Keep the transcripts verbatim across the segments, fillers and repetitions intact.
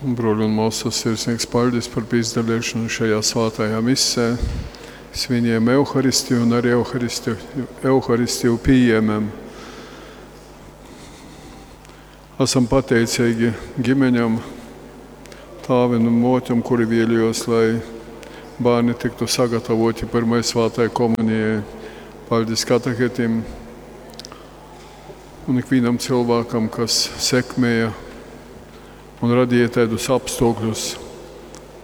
Bruoļi un muosys, sirsnīgs paļdis par pīsadaleišonu šajā svātajā misē. Svinējam Euharistiju un arī Euharistiju, Euharistiju pījēmēm. Esam pateicīgi ģimeņam, tāvim un muotem, kuri vēlējos, lai bērni tiktu sagatavoti pirmai svātai komunijai. Paldies katehetim un ikvienam cilvēkam, kas sekmēja un radīja tādus apstākļus,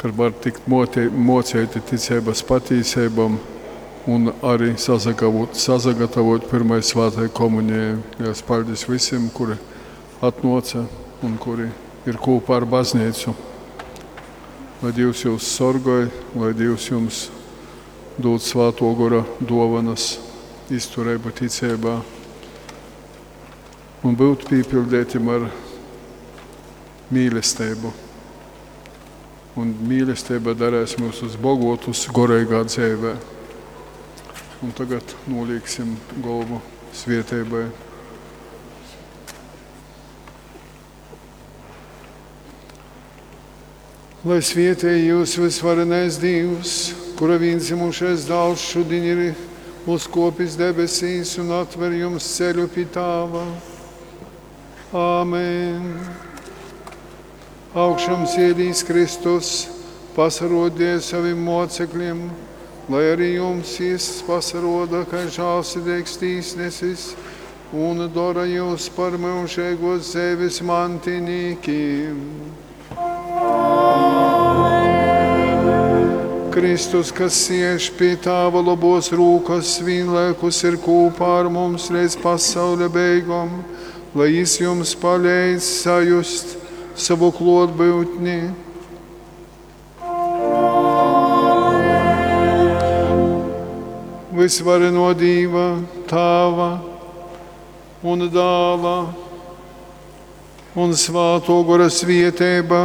kad var tikt mote, mocēti ticeibas patīseibom un arī sasagatavot, sasagatavot pirmai svātai komunijai. Liels paldies visiem, kuri atnāca un kuri ir kopā ar baznīcu. Lai Dievs jūs sorgoj, lai Dievs jums dod svāto gora dovanas, izturību ticībā un būt pīpildētim ar mīlestību. Un mīlestība darēs mūs bogotus goreigā dzīvē. Un tagad nolieksim galvu svieteibai. Lai svietēj jūs visvarenais Dievs, kura vienzimušais dāls šodien ir uzkopis debesīs un atver jums ceļu pie Tāva. Āmen. Augšām cielīs Kristus, pasarodīja saviem mocekļiem, lai arī jums jis pasaroda, kā žālsirdīgs tīsnesis, un dara jūs par mūžīgos dzīves mantinīkiem. Kristus, kas siež pie Tāva labos rūkas, vienlaikus ir kopā ar mums līdz pasaules beigām, lai jis jums palīdz sajust savu klātbūtni. Visvareno Dieva, Tāva un Dāla un Svāto Gora svieteiba